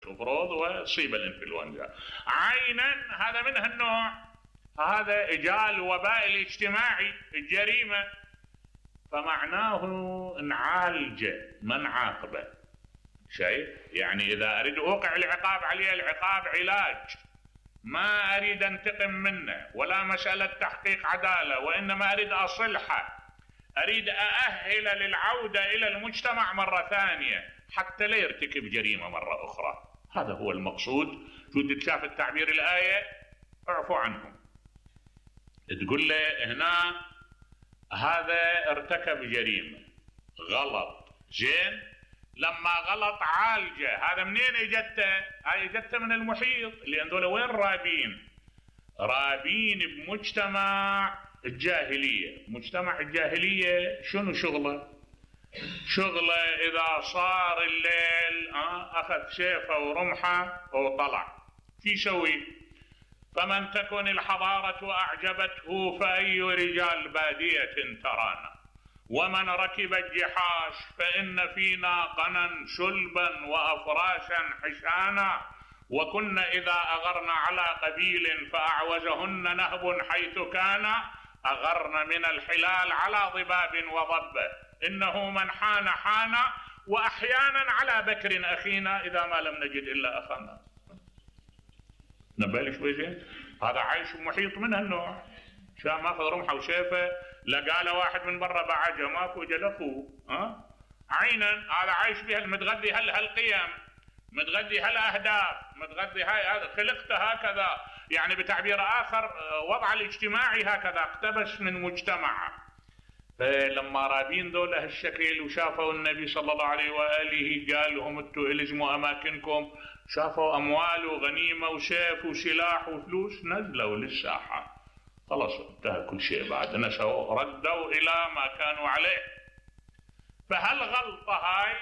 تفرض وتصيب الانفلونزا. عينا هذا من هالنوع، هذا اجاء الوباء الاجتماعي الجريمة، فمعناه نعالجه ما نعاقبه. شايف؟ يعني اذا اريد اوقع العقاب عليه، العقاب علاج، ما اريد انتقم منه ولا مسألة تحقيق عدالة، وانما اريد اصلحه، اريد اأهل للعودة الى المجتمع مرة ثانية حتى لا يرتكب جريمة مرة اخرى. هذا هو المقصود. شو تشاف التعبير الآية؟ اعفوا عنهم. تقول له هنا هذا ارتكب جريمة، غلط، زين، لما غلط عالجه. هذا منين اجته؟ هاي اجته من المحيط، لان دول وين رابين؟ رابين بمجتمع الجاهلية. مجتمع الجاهلية شنو شغله؟ شغله اذا صار الليل اخذ سيفه ورمحه وطلع، شو يسوي؟ فمن تكن الحضارة اعجبته فاي رجال بادية ترانا، ومن ركب الجحاش فإن فينا قنا شلبا وأفراشا حشانا، وكنا إذا أغرنا على قبيل فأعوزهن نهب حيث كان، أغرن من الحلال على ضباب وضبه، إنه من حان حان، وأحيانا على بكر أخينا إذا ما لم نجد إلا أخانا. نبالي شوي زين. هذا عايش محيط من هالنوع، شام ماخذ رمحه وسيفه، لقى له واحد من برا بعجه ماكو جلفه. عينا هذا عايش بها، متغذي هالقيم، متغذي هالاهداف، متغذي هذا خلقته هكذا، يعني بتعبير اخر وضع الاجتماعي هكذا، اقتبس من مجتمعه. فلما رابين ذولا هالشكل وشافوا النبي صلى الله عليه واله قال لهم انتوا الزموا اماكنكم، شافوا اموال وغنيمه وسيف وسلاح وفلوس، نزلوا للساحه، خلاص انتهى كل شيء، بعد نسوا ردوا الى ما كانوا عليه. فهالغلطه هاي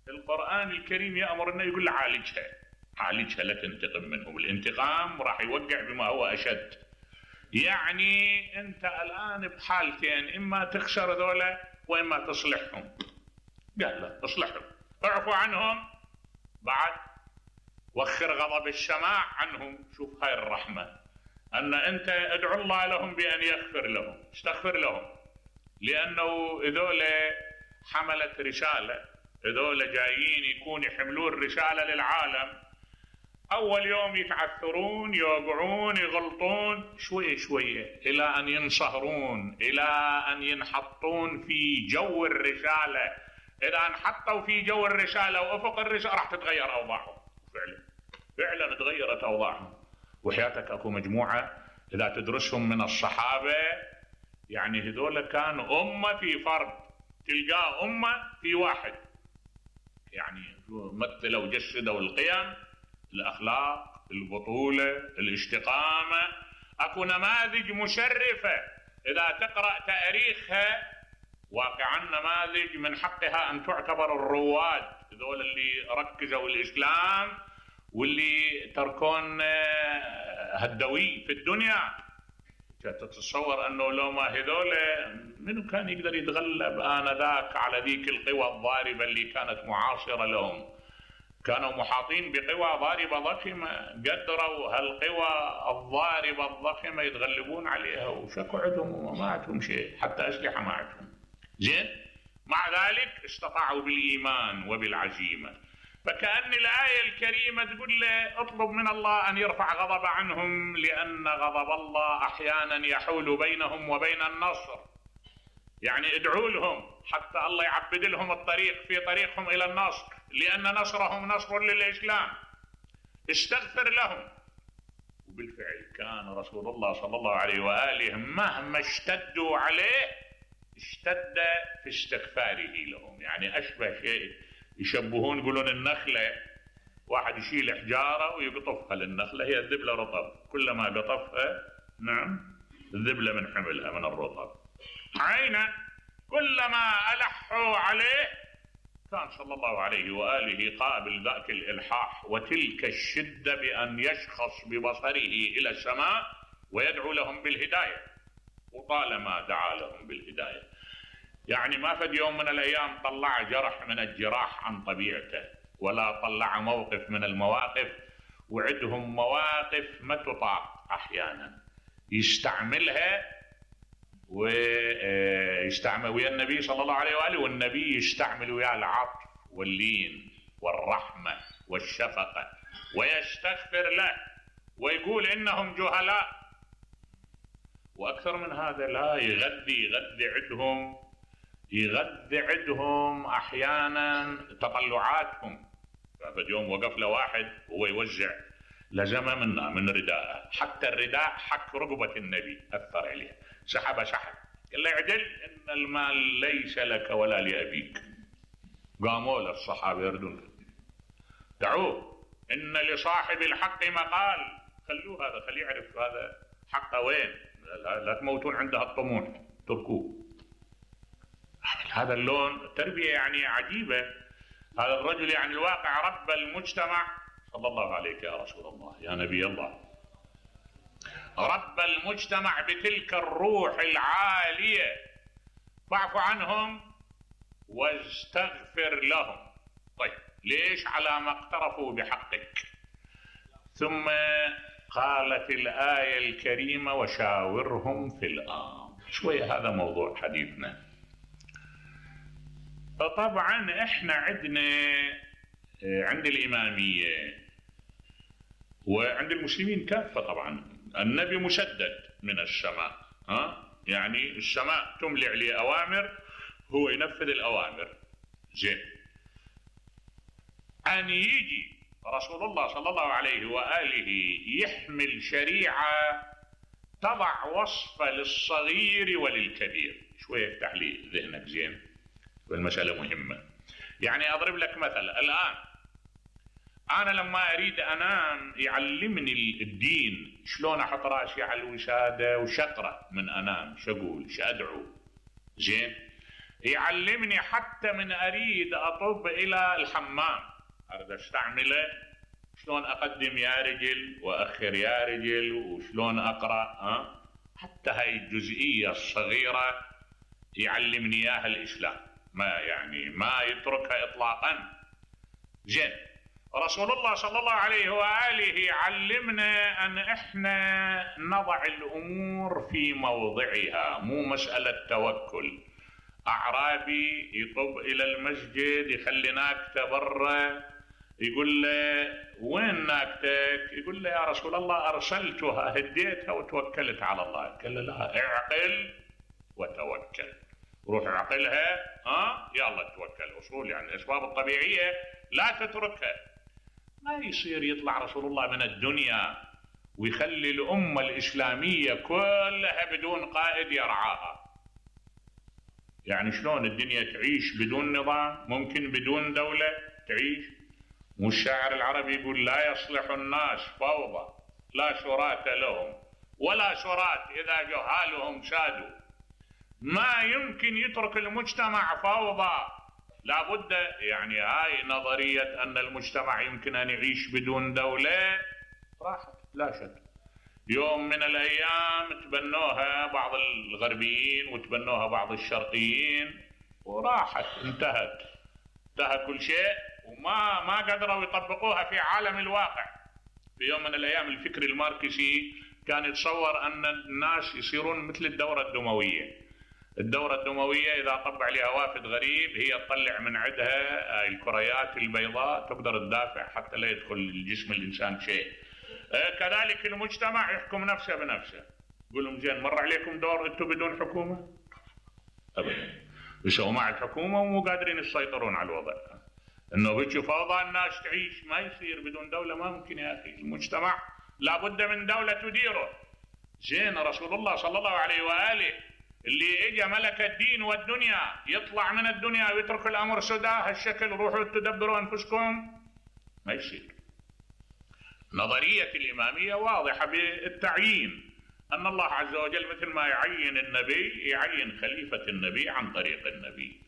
القرآن الكريم يأمرنا يقول عالجها، عالجها لا تنتقم منهم، الانتقام راح يوقع بما هو أشد. يعني أنت الآن بحالتين، إما تخسر ذولا وإما تصلحهم. قال لا اصلحهم، اعفوا عنهم، بعد وخر غضب السماع عنهم. شوف هاي الرحمة، أن أنت ادعو الله لهم بأن يغفر لهم، استغفر لهم، لأنه ذولا حملت رسالة، هذول جايين يكون يحملون رسالة للعالم. أول يوم يتعثرون، يوقعون، يغلطون شوية شوية إلى أن ينصهرون، إلى أن ينحطون في جو الرسالة. إذا انحطوا في جو الرسالة وأفق الرسالة راح تتغير أوضاعهم. فعلا تغيرت أوضاعهم. وحياتك أكو مجموعة إذا تدرسهم من الصحابة، يعني هذول كانوا أمة في فرد، تلقاه أمة في واحد، يعني مثلوا وجسدوا القيم، الأخلاق، البطولة، الاستقامة. أكو نماذج مشرفة إذا تقرأ تاريخها، واقعا نماذج من حقها أن تعتبر الرواد، ذول اللي ركزوا الإسلام واللي تركون هالدوي في الدنيا. تتصور أنه لو ما هذول منو كان يقدر يتغلب آنذاك على ذيك القوى الضاربة اللي كانت معاصرة لهم؟ كانوا محاطين بقوى ضاربة ضخمة، قدروا هالقوى الضاربة الضخمة يتغلبون عليها، وشكوا عندهم وما عندهم شيء، حتى أسلحة ما عندهم. زين، مع ذلك استطاعوا بالإيمان وبالعزيمة. فكأن الآية الكريمة تقول له اطلب من الله أن يرفع غضب عنهم، لأن غضب الله أحيانا يحول بينهم وبين النصر. يعني ادعوا لهم حتى الله يعبد لهم الطريق في طريقهم إلى النصر، لأن نصرهم نصر للإسلام. استغفر لهم. وبالفعل كان رسول الله صلى الله عليه وآله مهما اشتدوا عليه اشتد في استغفاره لهم. يعني أشبه شيء يشبهون، يقولون النخلة، واحد يشيل حجارة ويقطفها للنخلة، هي الذبلة رطب، كلما قطفها نعم الذبلة من حملها من الرطب. عينا كلما ألحوا عليه كان صلى الله عليه وآله قابل ذاك الإلحاح وتلك الشدة بأن يشخص ببصره إلى السماء ويدعو لهم بالهداية، وطالما دعا لهم بالهداية. يعني ما فد يوم من الأيام طلع جرح من الجراح عن طبيعته ولا طلع موقف من المواقف، وعندهم مواقف ما تطاق أحيانا يستعملها، ويستعمل ويا النبي صلى الله عليه وآله، والنبي يستعمل ويا العطف واللين والرحمة والشفقة، ويستغفر له ويقول إنهم جهلاء. وأكثر من هذا لا، يغذي عندهم أحيانا تطلعاتهم. ففي يوم وقف له واحد وهو يوزع لزمه من رداءه، حتى الرداء حك رقبة النبي أثر عليه، سحب قال له اعدل إن المال ليس لك ولا لأبيك. قاموا له الصحابة يردون، دعوه إن لصاحب الحق مقال، خلوه هذا، خليه يعرف هذا حقه وين، لا تموتون عندها الطموح، تركوه. هذا اللون تربية يعني عجيبة. هذا الرجل يعني الواقع رب المجتمع. صلى الله عليك يا رسول الله يا نبي الله. رب المجتمع بتلك الروح العالية، فاعف عنهم واستغفر لهم. طيب ليش؟ على ما اقترفوا بحقك. ثم قالت الآية الكريمة وشاورهم في الأمر. شوية هذا موضوع حديثنا. طبعا احنا عند الإمامية وعند المسلمين كافة، طبعا النبي مسدد من السماء، يعني السماء تملي عليه أوامر، هو ينفذ الأوامر. زين، أن يجي رسول الله صلى الله عليه وآله يحمل شريعة تضع وصفة للصغير وللكبير. شوية افتح لي ذهنك زين، والمسألة مهمة. يعني أضرب لك مثل، الآن أنا لما أريد أنام يعلمني الدين شلون أحط راسي على الوسادة وشقرأ من أنام، شقول شأدعو. زين، يعلمني حتى من أريد أطب إلى الحمام أريد أستعمله شلون أقدم يا رجل وأخر يا رجل، وشلون أقرأ. حتى هاي الجزئية الصغيرة يعلمني إياها الإسلام، ما يتركها إطلاقا. زين، رسول الله صلى الله عليه وآله يعلمنا أن إحنا نضع الأمور في موضعها، مو مسألة توكل. أعرابي يطب إلى المسجد يخلي ناكته برا، يقول له وين ناكتك؟ يقول له يا رسول الله أرسلتها هديتها وتوكلت على الله. قال له لا، اعقل وتوكل، روح اعقلها يلا توكل. أصول يعني الأسباب الطبيعية لا تتركها. ما يصير يطلع رسول الله من الدنيا ويخلي الأمة الإسلامية كلها بدون قائد يرعاها. يعني شلون الدنيا تعيش بدون نظام؟ ممكن بدون دولة تعيش؟ والشاعر العربي يقول لا يصلح الناس فوضى لا شرات لهم ولا شرات إذا جهالهم سادوا. ما يمكن يترك المجتمع فوضى، لابد. يعني هاي نظرية أن المجتمع يمكن أن يعيش بدون دولة راحت لا شك. يوم من الأيام تبنوها بعض الغربيين وتبنوها بعض الشرقيين وراحت، انتهى كل شيء، وما قدروا يطبقوها في عالم الواقع. في يوم من الأيام الفكر الماركسي كان يتصور أن الناس يصيرون مثل الدورة الدموية. الدورة الدموية إذا طب عليها وافد غريب هي تطلع من عندها الكريات البيضاء تقدر تدافع حتى لا يدخل الجسم الإنسان شيء. كذلك المجتمع يحكم نفسه بنفسه. يقول لهم زين مر عليكم دور انتم بدون حكومة؟ أبدا. يسووا مع الحكومة ومو قادرين يسيطرون على الوضع. انه بيجي فوضى الناس تعيش، ما يصير بدون دولة، ما ممكن يا أخي. المجتمع لابد من دولة تديره. زين، رسول الله صلى الله عليه وآله اللي اجى ملك الدين والدنيا يطلع من الدنيا ويترك الامر سدى هالشكل، روحوا تدبروا انفسكم، ما يصير. نظرية الامامية واضحة بالتعيين، ان الله عز وجل مثل ما يعين النبي يعين خليفة النبي عن طريق النبي.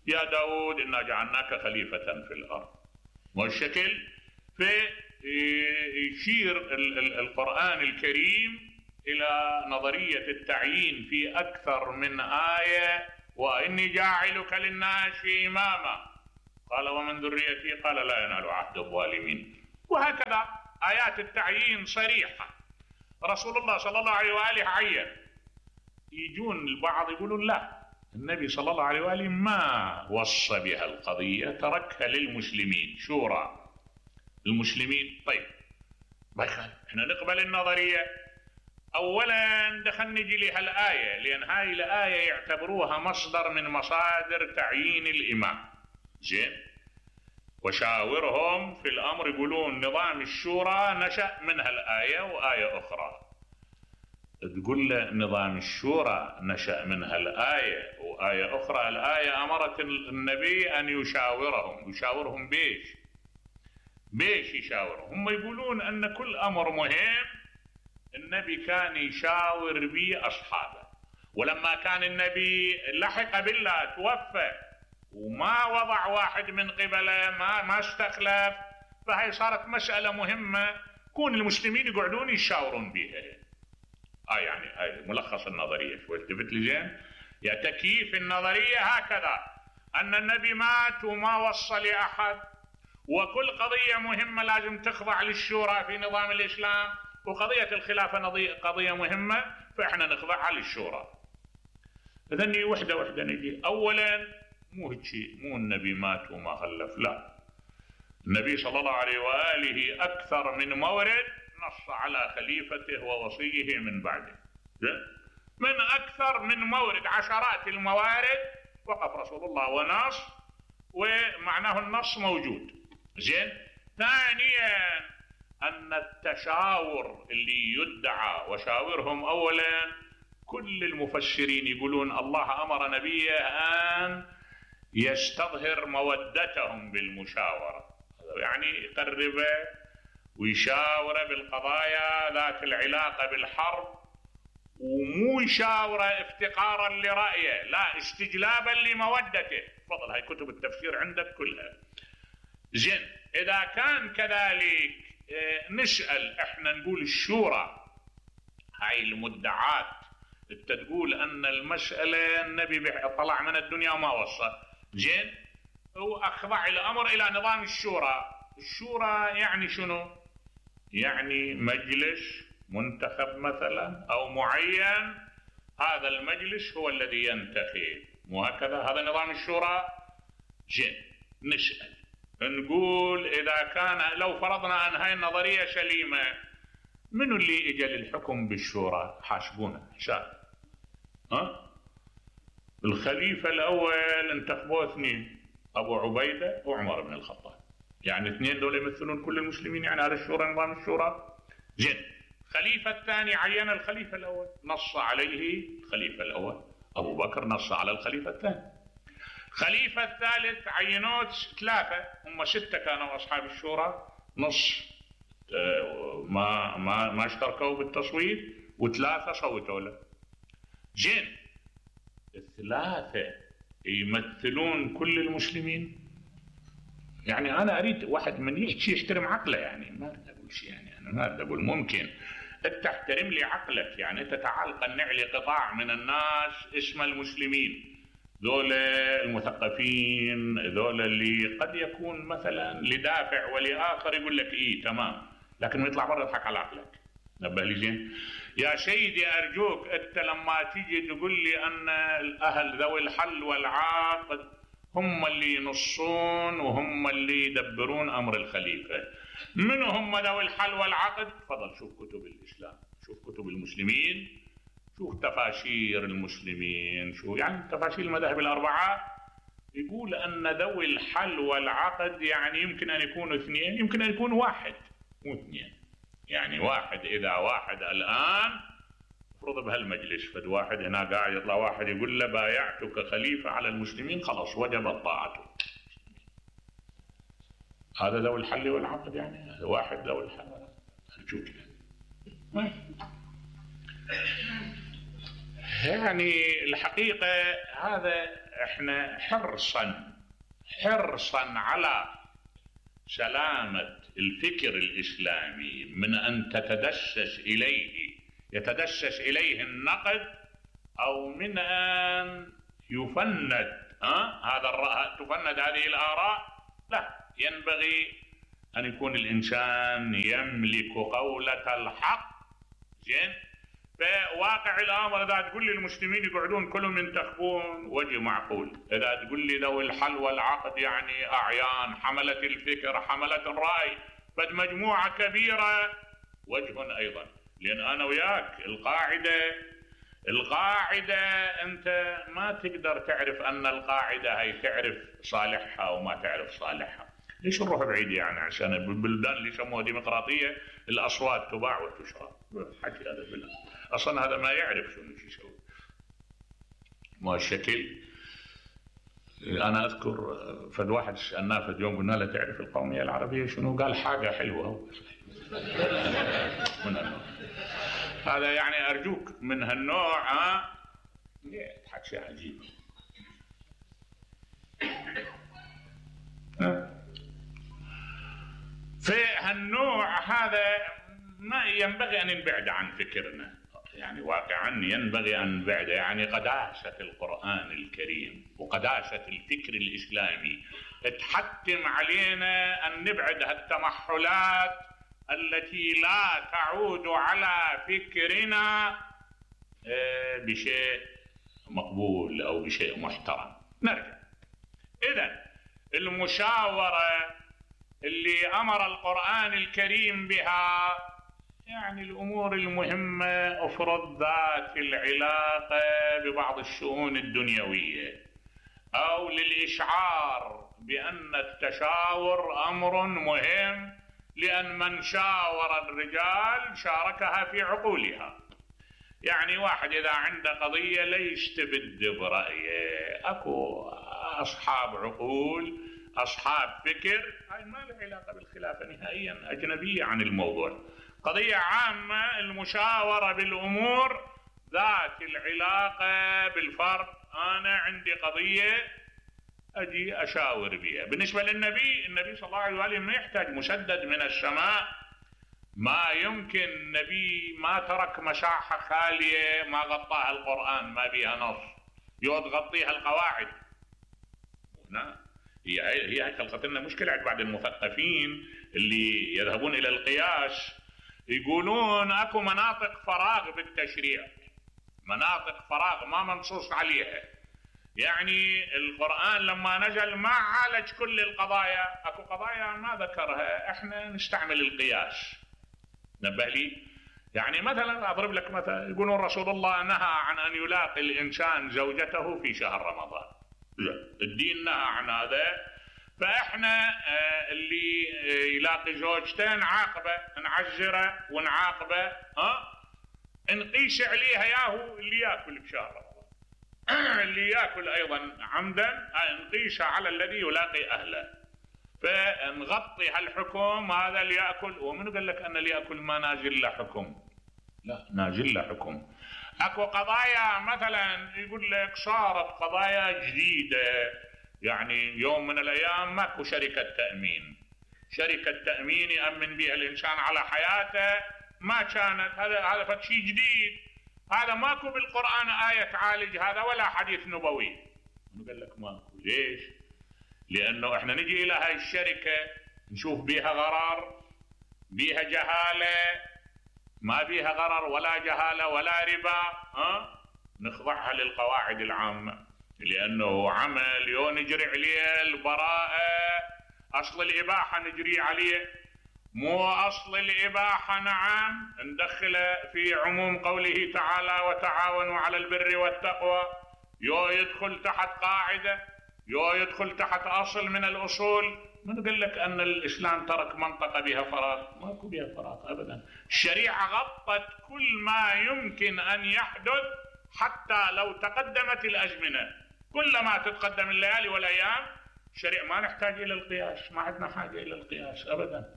يا داود انا جعلناك خليفة في الارض. والشكل يشير القرآن الكريم إلى نظرية التعيين في أكثر من آية. وإني جاعلك للناس إماما. قال ومن ذريتي قال لا ينال عهد الظالمين. وهكذا آيات التعيين صريحة. رسول الله صلى الله عليه وآله عين. يجون البعض يقولون لا، النبي صلى الله عليه وآله ما وصى بها القضية، تركها للمسلمين، شورى المسلمين. طيب ما يخالف، احنا نقبل النظرية. اولا دخل نجي لها الآية، لأن هاي الآية يعتبروها مصدر من مصادر تعيين الإمام. زين، وشاورهم في الأمر، يقولون نظام الشورى نشأ منها الآية وآية أخرى. تقول له نظام الشورى نشأ منها الآية وآية أخرى. الآية أمرت النبي أن يشاورهم بيش يشاورهم. هم يقولون أن كل أمر مهم النبي كان يشاور به أصحابه، ولما كان النبي لحق بالله توفى وما وضع واحد من قبله، ما استخلف، فهي صارت مسألة مهمة كون المسلمين يقعدون يشاورون بها. يعني هاي ملخص النظرية. شو التفت لي زين؟ يا تكييف النظرية هكذا، أن النبي مات وما وصى لأحد، وكل قضية مهمة لازم تخضع للشورى في نظام الإسلام، وقضية الخلافة قضية مهمة فإحنا نخضعها للشورى. إذن وحدة نجي. أولا مو هيك، مو النبي مات وما خلف، لا، النبي صلى الله عليه وآله أكثر من مورد نص على خليفته ووصيه من بعده، من أكثر من مورد، عشرات الموارد وقف رسول الله ونص، ومعناه النص موجود. زين. ثانيا أن التشاور اللي يدعى وشاورهم، أولا كل المفسرين يقولون الله أمر نبيه أن يستظهر مودتهم بالمشاورة، يعني يقربه ويشاوره بالقضايا ذات العلاقة بالحرب، ومو يشاوره افتقارا لرأيه، لا، استجلابا لمودته. تفضل، هاي كتب التفسير عندك كلها. زين، إذا كان كذلك نسأل احنا، نقول الشورى هاي المدعات، انت تقول ان المسألة النبي طلع من الدنيا وما وصى. زين، واخضع الامر الى نظام الشورى. الشورى يعني شنو؟ يعني مجلس منتخب مثلا او معين، هذا المجلس هو الذي ينتخب، مو هكذا؟ هذا نظام الشورى. زين، نسأل نقول اذا كان، لو فرضنا ان هاي النظرية سليمة، منو اللي اجى للحكم بالشورى؟ حاسبونا حساب. الخليفة الاول انتخبوه اثنين، ابو عبيدة وعمر بن الخطاب، يعني اثنين دول يمثلون كل المسلمين، يعني هذا الشورى نظام الشورى. زين، الخليفة الثاني عين الخليفة الاول، نص عليه الخليفة الاول، ابو بكر نص على الخليفة الثاني. الخليفة الثالث عينوه ثلاثة، هم ستة كانوا اصحاب الشورى، نص ما اشتركوا بالتصويت، وثلاثة صوتوا له. زين، الثلاثة يمثلون كل المسلمين. يعني أنا أريد واحد من يحكي يحترم عقله، يعني ما أريد أقول شيء، يعني أنا ما أريد أقول، ممكن أنت تحترم لي عقلك، يعني أنت تعال قنع لي قطاع من الناس اسم المسلمين، ذول المثقفين، ذول اللي قد يكون مثلا لدافع ولآخر يقول لك إيه تمام، لكن يطلع برا يضحك على عقلك. نبه لي زين يا سيدي، أرجوك أنت لما تيجي تقول لي أن الأهل ذوي الحل والعقد هم اللي ينصون وهم اللي يدبرون أمر الخليفة، من هم ذوي الحل والعقد؟ تفضل شوف كتب الإسلام، شوف كتب المسلمين، شوف تفاسير المسلمين، شو يعني تفاسير المذاهب الأربعة، يقول أن ذوي الحل والعقد يعني يمكن أن يكونوا اثنين، يمكن أن يكون واحد مو اثنين، يعني واحد. إذا واحد الآن افرض بهالمجلس فد واحد هنا قاعد يطلع واحد يقول له بايعتك خليفة على المسلمين، خلاص وجبت طاعته، هذا ذوي الحل والعقد، يعني هذا واحد ذوي الحل والعقد. يعني الحقيقة هذا احنا حرصا على سلامة الفكر الإسلامي من أن يتدسس إليه النقد، أو من أن يفند تفند هذه الآراء لا، ينبغي أن يكون الإنسان يملك قولة الحق. زين؟ فواقع الأمر إذا تقول لي المسلمين يقعدون كلهم ينتخبون وجه معقول، إذا تقول لي ذوي الحل والعقد يعني أعيان حملة الفكر حملة الرأي بد مجموعة كبيرة وجه أيضا. لأن أنا وياك القاعدة أنت ما تقدر تعرف أن القاعدة هي تعرف صالحها وما تعرف صالحها. ليش نروح بعيد يعني عشان البلدان اللي يسموها ديمقراطية الأصوات تباع وتشرى؟ حكي هذا بالله، أصلا هذا ما يعرف شو يسوي. ما الشكل. أنا أذكر فد واحد سألناه فد يوم قلنا له تعرف القومية العربية شنو؟ قال حاجة حلوة. من النوع هذا يعني أرجوك من هالنوع يضحك شيء عجيب. في هالنوع هذا ما ينبغي أن نبعد عن فكرنا، يعني واقعا ينبغي أن نبعد. يعني قداسة القرآن الكريم وقداسة الفكر الإسلامي تحتم علينا أن نبعد هالتمحلات التي لا تعود على فكرنا بشيء مقبول أو بشيء محترم. نرجع إذن المشاورة اللي أمر القرآن الكريم بها يعني الأمور المهمة أفرض ذات العلاقة ببعض الشؤون الدنيوية أو للإشعار بأن التشاور أمر مهم، لأن من شاور الرجال شاركها في عقولها. يعني واحد إذا عنده قضية لا يستبد برأيه، أكو أصحاب عقول أصحاب فكر، هاي ما له علاقة بالخلافة نهائيا، أجنبية عن الموضوع. قضية عامة المشاورة بالأمور ذات العلاقة بالفرد. أنا عندي قضية أجي أشاور بها. بالنسبة للنبي صلى الله عليه وآله ما يحتاج مسدد من السماء، ما يمكن. النبي ما ترك مساحة خالية ما غطاها القرآن ما بها نص يغطيها القواعد. نعم، هي خلقت لنا مشكلة عند بعض المثقفين اللي يذهبون إلى القياس، يقولون أكو مناطق فراغ بالتشريع، مناطق فراغ ما منصوص عليها. يعني القرآن لما نزل ما عالج كل القضايا، أكو قضايا ما ذكرها، احنا نستعمل القياس. نبه لي يعني مثلا أضرب لك مثلا، يقولون رسول الله نهى عن أن يلاقي الإنسان زوجته في شهر رمضان، الدين نهى عن هذا. فإحنا اللي يلاقي زوجته نعاقبه، نعزره ونعاقبه، نقيس عليها ياهو اللي ياكل بشهر رمضان اللي ياكل أيضا عمدا نقيسها على الذي يلاقي أهله، فنغطي هالحكم هذا اللي يأكل. ومن قال لك أن اللي يأكل ما نازل له حكم؟ لا، نازل له حكم. أكو قضايا مثلا يقول لك صارت قضايا جديدة، يعني يوم من الأيام ماكو شركة تأمين، شركة تأمين يأمن بها الإنسان على حياته، ما كانت. هذا فشي جديد، هذا ماكو بالقرآن آية تعالج هذا ولا حديث نبوي. قال لك ماكو. ليش؟ لأنه احنا نجي إلى هاي الشركة نشوف بيها غرر، بيها جهالة، ما بيها غرر ولا جهالة ولا ربا، نخضعها للقواعد العامة، لأنه عمل نجري عليه البراءة، أصل الإباحة نجري عليه، مو أصل الإباحة نعم ندخله في عموم قوله تعالى وتعاونوا على البر والتقوى، يدخل تحت قاعدة، يدخل تحت أصل من الأصول. من قال لك أن الإسلام ترك منطقة بها فراغ؟ ماكو بها فراغ أبدا. الشريعة غطت كل ما يمكن أن يحدث، حتى لو تقدمت الأزمنة، كلما تتقدم الليالي والأيام الشريعة ما نحتاج إلى القياس، ما عندنا حاجة إلى القياس أبدا.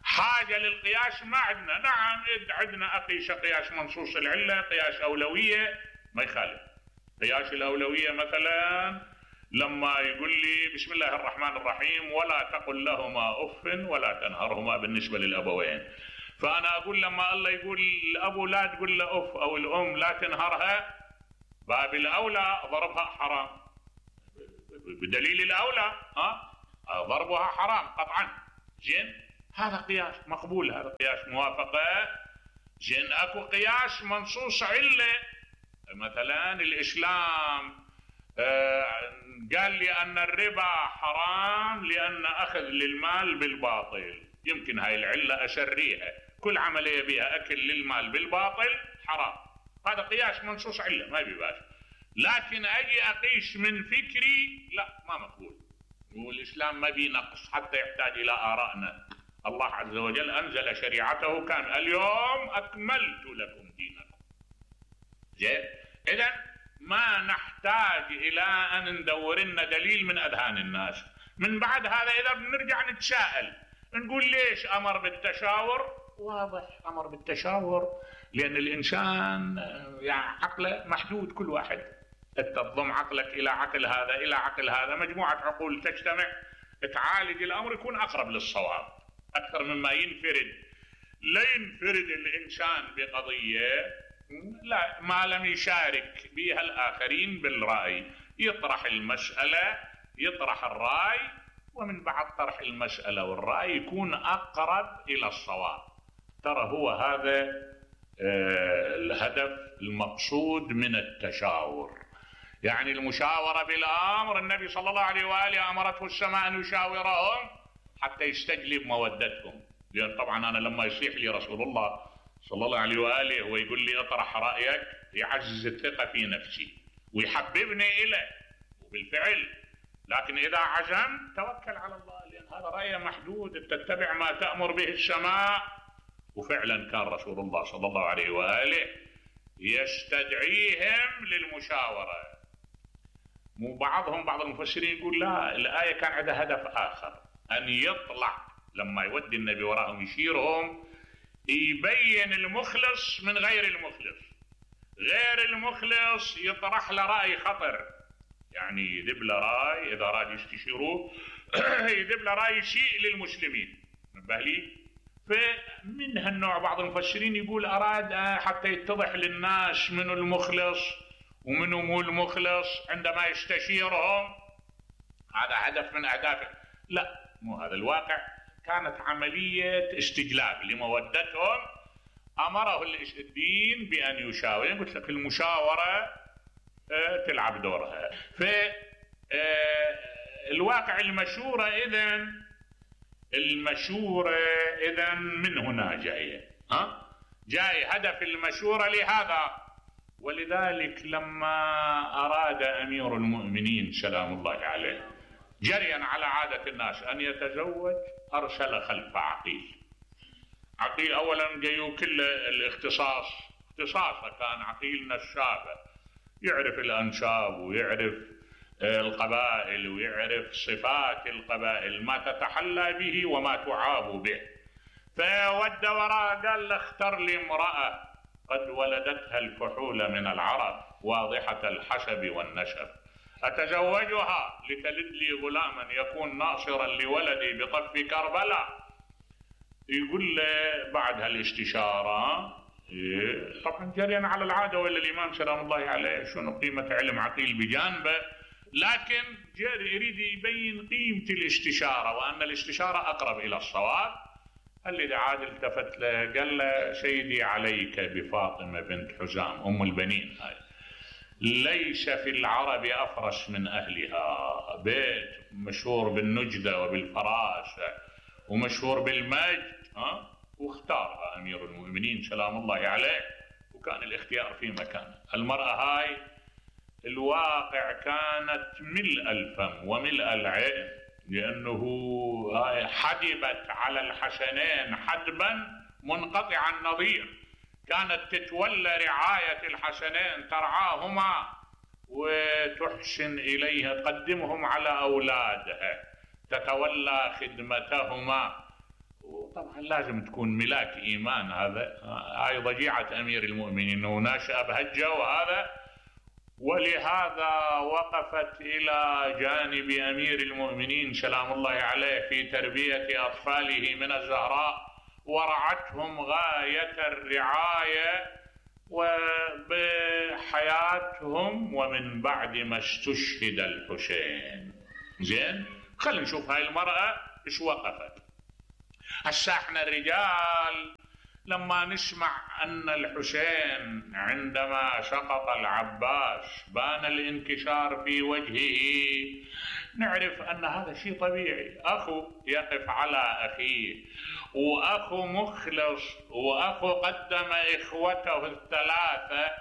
حاجة للقياس ما عندنا. نعم عندنا أقيس قياس منصوص العلة، قياس أولوية ما يخالف. قياس الأولوية مثلا لما يقول لي بسم الله الرحمن الرحيم ولا تقل لهما أف ولا تنهرهما بالنسبة للأبوين، فأنا أقول لما الله يقول الأبو لا تقول له أف أو الأم لا تنهرها، باب الأولى ضربها حرام بدليل الأولى. ضربها حرام قطعا. زين، هذا قياس مقبول، هذا قياس موافقة. زين، اكو قياس منصوص علة، مثلا الإسلام قال لي أن الربا حرام لأن أخذ للمال بالباطل، يمكن هاي العلة أشريها، كل عملية بها أكل للمال بالباطل حرام، هذا قياس منصوص علة ما بيباش. لكن أجي أقيس من فكري لا، ما مقبول، والإسلام ما بينقص حتى يحتاج إلى آرائنا. الله عز وجل أنزل شريعته كان اليوم أكملت لكم دينكم. زين، إذن ما نحتاج إلى أن ندور لنا دليل من أذهان الناس. من بعد هذا إذا بنرجع نتساءل نقول ليش أمر بالتشاور؟ واضح أمر بالتشاور لأن الإنسان يعني عقله محدود، كل واحد تضم عقلك إلى عقل هذا إلى عقل هذا، مجموعة عقول تجتمع تعالج الأمر يكون أقرب للصواب أكثر مما ينفرد. لا ينفرد الإنسان بقضية لا ما لم يشارك بها الآخرين بالرأي، يطرح المسألة يطرح الرأي، ومن بعد طرح المسألة والرأي يكون أقرب إلى الصواب. ترى هو هذا الهدف المقصود من التشاور، يعني المشاورة بالأمر. النبي صلى الله عليه وآله أمرته السماء أن يشاورهم حتى يستجلب مودتهم، لأن طبعا أنا لما يصيح لي رسول الله صلى الله عليه وآله ويقول لي اطرح رأيك يعزز الثقة في نفسي ويحببني إليه، وبالفعل. لكن إذا عزم توكل على الله، لأن هذا رأي محدود، تتبع ما تأمر به السماء. وفعلا كان رسول الله صلى الله عليه وآله يستدعيهم للمشاورة. بعض المفسرين يقول لا، الآية كان عندها هدف آخر، أن يطلع لما يودي النبي وراءهم يشيرهم يبين المخلص من غير المخلص. غير المخلص يطرح له رأي خطر، يعني يذب له رأي إذا راد يستشيروه يذب له رأي شيء للمسلمين. نبه لي، فمن هالنوع بعض المفسرين يقول أراد حتى يتضح للناس منو المخلص ومنو مو المخلص عندما يستشيرهم، هذا هدف من أهدافه. لا، مو هذا الواقع، كانت عملية استجلاب لمودتهم. أمره الدين بأن يشاور، قلت لك المشاورة تلعب دورها. فالواقع المشورة إذن من هنا جاية، جاي هدف المشورة لهذا. ولذلك لما أراد أمير المؤمنين سلام الله عليه جريا على عادة الناس أن يتزوج، أرسل خلف عقيل. عقيل أولا جايو كل الاختصاص، اختصاصه كان عقيل نشابه، يعرف الأنساب ويعرف القبائل ويعرف صفات القبائل، ما تتحلى به وما تعاب به. فود وراء قال له اختر لي امرأة قد ولدتها الفحول من العرب واضحة الحسب والنسب، أتزوجها لتلد لي غلاما يكون ناصرا لولدي بطف كربلاء. يقول له بعد هالاستشارة طبعا جريا على العادة، ولا الإمام سلام الله عليه شنو قيمة علم عقيل بجانبه، لكن يريد يبين قيمة الاستشارة وأن الاستشارة أقرب إلى الصواب. الذي عاد التفت له قال له سيدي عليك بفاطمة بنت حزام أم البنين، هاي ليس في العرب أفرس من أهلها، بيت مشهور بالنجدة وبالفراسة ومشهور بالمجد، واختارها أمير المؤمنين سلام الله عليه، وكان الاختيار في مكانه. المرأة هاي الواقع كانت ملء الفم وملء العين، لأنه حدبت على الحسنين حدبا منقطع النظير، كانت تتولى رعاية الحسنين، ترعاهما وتحسن إليها، تقدمهم على أولادها، تتولى خدمتهما. وطبعا لازم تكون ملاك إيمان، هاي ضجيعة أمير المؤمنين وناشأ بهالجو هذا. ولهذا وقفت إلى جانب أمير المؤمنين سلام الله عليه في تربية أطفاله من الزهراء، ورعتهم غاية الرعاية وبحياتهم، ومن بعد ما استشهد الحسين زين خلينا نشوف هاي المرأة ايش وقفت. هسه احنا الرجال لما نسمع ان الحسين عندما سقط العباس بان الانكسار في وجهه، نعرف ان هذا شيء طبيعي. اخو يقف على اخيه، واخو مخلص، واخو قدم اخوته الثلاثة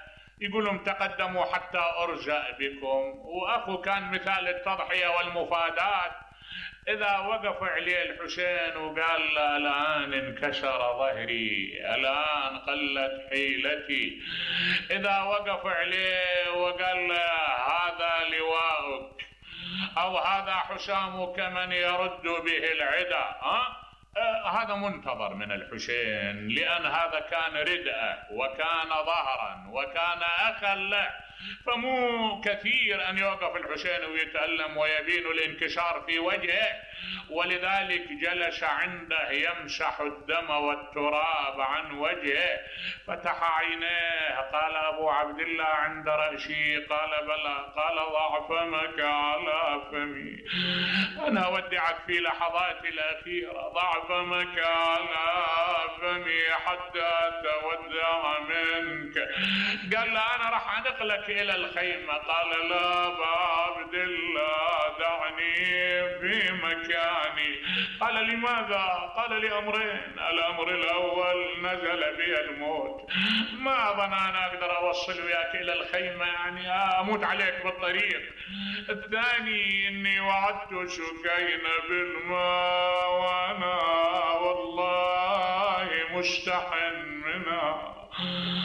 يقول لهم تقدموا حتى ارجأ بكم، واخو كان مثال التضحية والمفاداة. إذا وقف عليه الحسين وقال له الآن انكسر ظهري، الآن قلت حيلتي، إذا وقف عليه وقال له هذا لواءك أو هذا حسامك من يرد به العدا، هذا منتظر من الحسين، لأن هذا كان ردءه وكان ظهرا وكان أخا له، فمو كثير أن يوقف الحسين ويتألم ويبين الانكسار في وجهه. ولذلك جلس عنده يمسح الدم والتراب عن وجهه، فتح عينيه، قال أبو عبد الله عند رأسي؟ قال بلى. قال ضع فمك على فمي، أنا أودعك في لحظاتي الأخيرة، ضع فمك على فمي حتى أتودع منك. قال له أنا راح أنقلك إلى الخيمة. قال لا أبا عبد الله دعني في مكاني. قال لماذا؟ قال لأمرين، الأمر الأول نزل بي الموت، ما أظن أنا أقدر أوصل وياك إلى الخيمة، يعني أموت عليك بالطريق. الثاني إني وعدت سكينة بالماء وأنا والله مستحن منها.